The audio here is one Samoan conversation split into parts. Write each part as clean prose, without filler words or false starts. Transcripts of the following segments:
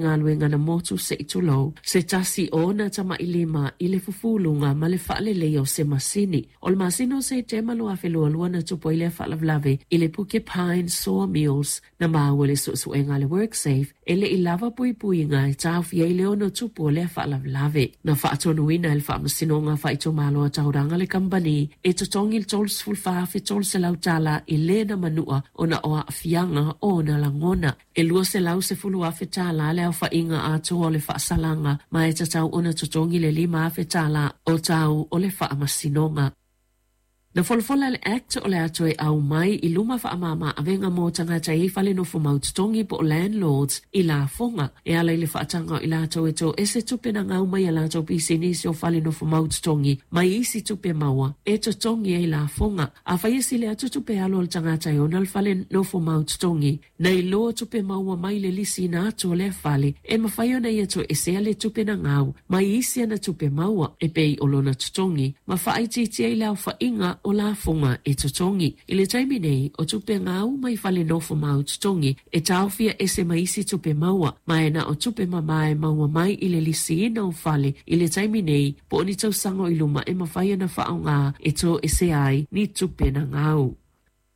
Galuega na motu se i tulou se tasi o ona tamailima i le fufuluga ma le faaleleia o se masini. O le masina o Setema 2022 na tupu ai lea faalavelave i le Porcupine Sawmills na maua i le suesuega a le WorkSafe e le i lava puipuiga e taofia ai le ono tupu o lea faalavelave. Na faatonuina e le Faamasinoga Faaitumalo a Tauranga le kamupani e totogi le $34,300 i le na manua ona o aafiaga o ona lagona. E $210,000 le aofaiga atoa o le faasalaga ma e tatau ona totogi le $5,000 o tau o le faamasinoga. Na folafola le Act o le a toe aumai i luma faamama avega mo tagata e i ai fale nofomau totogi po o landlords i lafoga e ala i le faataga o i latou e toese tupe na gau mai a latou pisinisi o fale nofomau totogi mai isi tupe maua e totogi ai lafoga. Afai e sili atu tupe alu a le tagata e ona le fale nofomau totogi Nai lo tupe maua mai le lisiina atu o lea fale, e mafai ona ia toesea le tupe na gau mai isi ana tupe maua e pei o lona totogi ma faaitiitia i le aofaiga o lafoga e totogi. I le taimi nei, o tupe gau mai fale nofo mau totogi e taofia ese ma isi tupe maua, ma e na o tupe mama e maua mai i le lisiina o fale i le taimi nei po o ni tausaga o i luma e mafai ona faaaoga e toesea ai ni tupe na gau.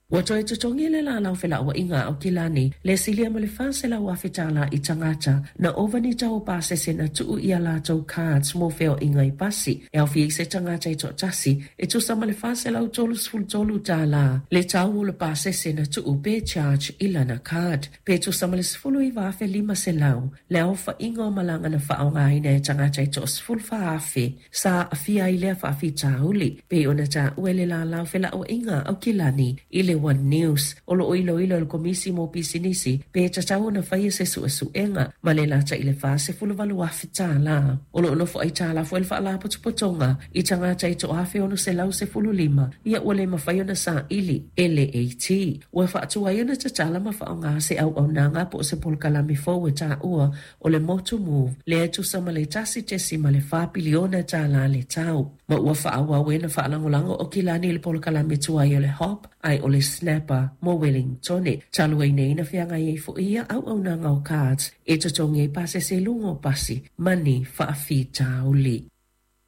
Ua toe totogi le lalau felauaiga a Aukilani le silia ma le $400,000 i tagata na ova ni tau o pasese na tuu i a latou cards mo feoaiga i pasi e aofia ai se tagata e toatasi e tusa ma le $433 le tau o le pasese na tuu pe charge i lana card pe tusa ma le $19,500 le aofaiga o malaga na faaaogaina e tagata e toa-14,000 sa aafia ai lea faafitauli, pei ona taua e le lalau felauaiga a Aukilani i le One News. O lo o iloilo e le Komisi mo Pisinisi pe tatau ona faia se suesuega ma le lata i le $48,000. O lo o nofo aitalafu ai le Faalapotopotoga i tagata e toa-1,615 ia ua le mafai ona saili e le AT. Ua faatuai ona tatala ma faaaoga se auaunaga po o se polokalame fou e taua o le Motu Move, lea e tusa ma le $1.4 piliona le tau, ma ua faaauau ai ona faalagolago o Kilani i le polokalame tuai o le Hop ai o le Snapper mo Welingtone. Talu ai nei na feagai ai foi ia auaunaga o cards e totogi ai pasese i luga o pasi ma ni faafitauli.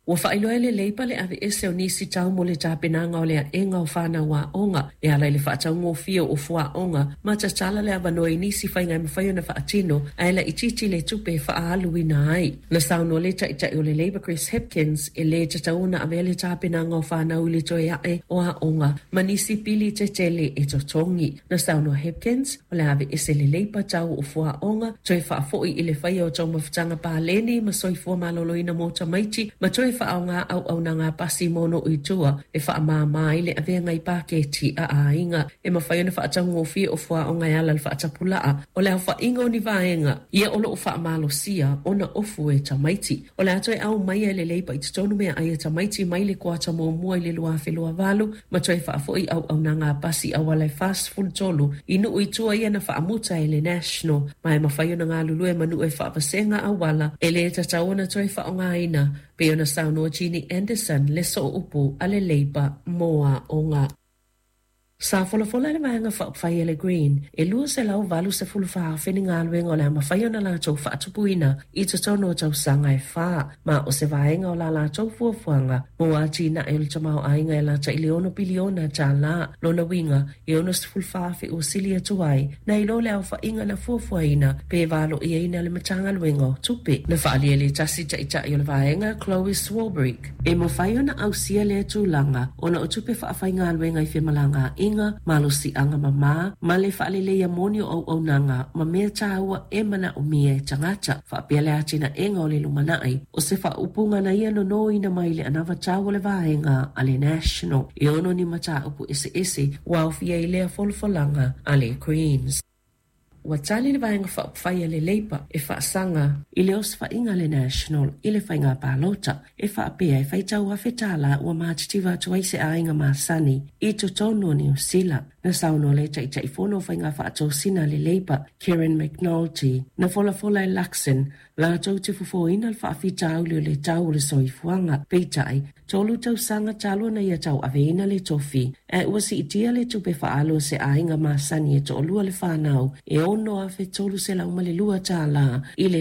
Ua faailoa e le Labour le aveese o nisi tau mo le tapenaga o le aega o fanau aoga e ala i le faataugofie o fuaoga ma tatala le avanoa i nisi faiga e mafai ona faatino ae laitiiti le tupe e faaaluina ai. Na saunoa le Taitai o le Labour Chris Hipkins e lē tatau ona avea le tapenaga o fanau i le toe ae o aoga ma nisi pili tetele e totogi. Na saunoa Hipkins, o le a aveese le Labour tau o fuaoga, toe faafoi i le faia o taumafataga paleni ma soifua maloloina mo tamaiti, ma toe faaaoga auaunaga pasi mo nuu i tua e faamāmā ai le aveaga i paketi a aiga. E mafai ona faataugofie o fuaoga e ala i le faatapulaa o le aofaiga o ni vaega ia o lo o faamalosia ona ofu e tamaiti. O le a toe aumaia e le Labour i totonu meaai a tamaiti mai le kuata muamua i le 2028 ma toe faafoi auaunaga a pasi auala e 43 i nuu i tua ia na faamuta e le National ma e mafai ona galulue ma nuu e faavasega auala e lē tatau ona toe faaaogaina, pei ona saunoa Ginny Anderson le sooupu a le Labour mo aoga. Sa folafola le Vaega Faaupufai a le Green e 284,000 ni galuega o le a mafai ona latou faatupuina i totonu o tausaga e fa, ma o se vaega o la latou fuafuaga mo atinae o le tamaoaiga e lata i le $6 piliona. Lona uiga, e 64,000 ua sili atu ai nai lo le aofaiga na fuafuaina pe valoiaina le Matagaluega o Tupe. Na faaalia e le tasi taitai o le vaega, Chloe Swarbrick, E mafai ona ausia lea tulaga ona o tupe faafaigaluega i femalagaaiga, malosiaga mamā, ma le faaleleia moni o auaunaga ma mea tāua e manaomia e tagata, faapea le atinaega o le lumanai. O se faaupuga na ia nonoina mai le anavatau o le vaega a le National e ono ni mataupu eseese ua aofia i lea folafolaga a le Greens. Ua tali le Vaega Faaupufai a le Labour e faasaga i le osofaiga a le National i le faiga palota e faapea e faitau $1,000 ua matitiva atu ai se aiga masani i totonu o Niu Sila. Na saunoa le Taitaifono o Faiga Faatosina a le Labour, Kieran McAnulty, na folafola e Luxon latou te fofoina le faafitauli o le tau o le soifuaga. Peitai, tolu tausaga talu ona ia tauaveina le tofi, ae ua siitia le tupe faaalu a se aiga masani e toalua le fanau e $6,302 i le.